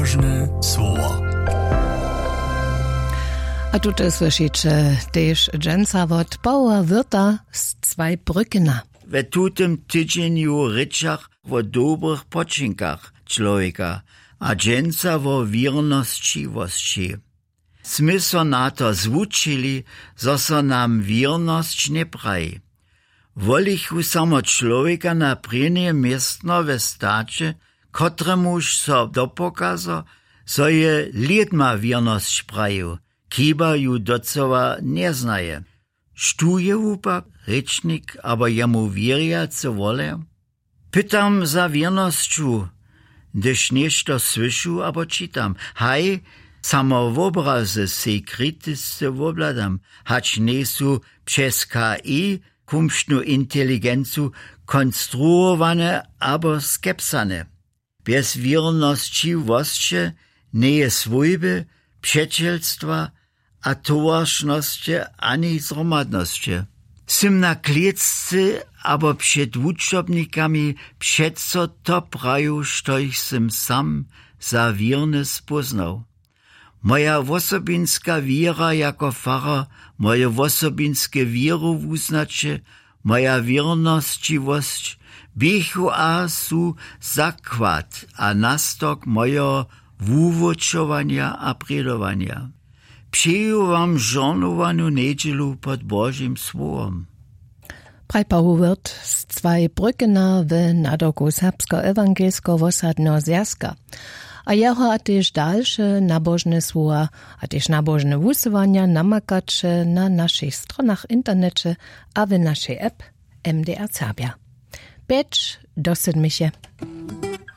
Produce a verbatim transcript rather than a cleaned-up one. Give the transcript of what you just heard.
Ważne słowo. A tute słyszyće tež dźensa wot Paula Wirta z Zweibrückena. We tutym tydźenju rěčach wo dobrych počinkach čłowjeka a dźensa wo wěrnosćiwosći. Smy so na to zwučili, zo so nam wěrnosć njepraji. Wolichu samo čłowjeka na prěnje městno we staće, kotremuž so dopokazo, zo je lědma wěrnosć prajił, kiba ju docyła njeznaje. Štó je wupak rěčnik abo jemu wěrjacy wolejał? Pytam za wěrnosću, hdyž něšto słyšu abo čitam. Haj, samo wobrazy sej kritisce wobhladam, hač njejsu přez K I, kumštnu inteligencu, konstruowane abo skepsane. Bjez wěrnosćiwosće njeje swójby, přećelstwa a towaršnosće ani zhromadnosće. Sym na klěcce abo před wučobnikami přeco to praju, štož sym sam za wěrne spóznał. Moja wosobinska wěra jako farar, moje wosobinske wěrowuznaće, moja wěrnosćiwosć běchu a su zakład a nastork mojeho wuwučowanja a prědowanja. Přeju wam žornowanu njedźelu pod Božim słowom. Praj Paul Wirth z Zweibrückena w nadawku Serbskeho ewangelskeho wosadneho zwjazka. A jeho a tež dalše nabožne słowa a tež nabožne wusyłanja namakaće na našich stronach w interneće a w našej app M D R Serbia. Pjeć do sydmich je.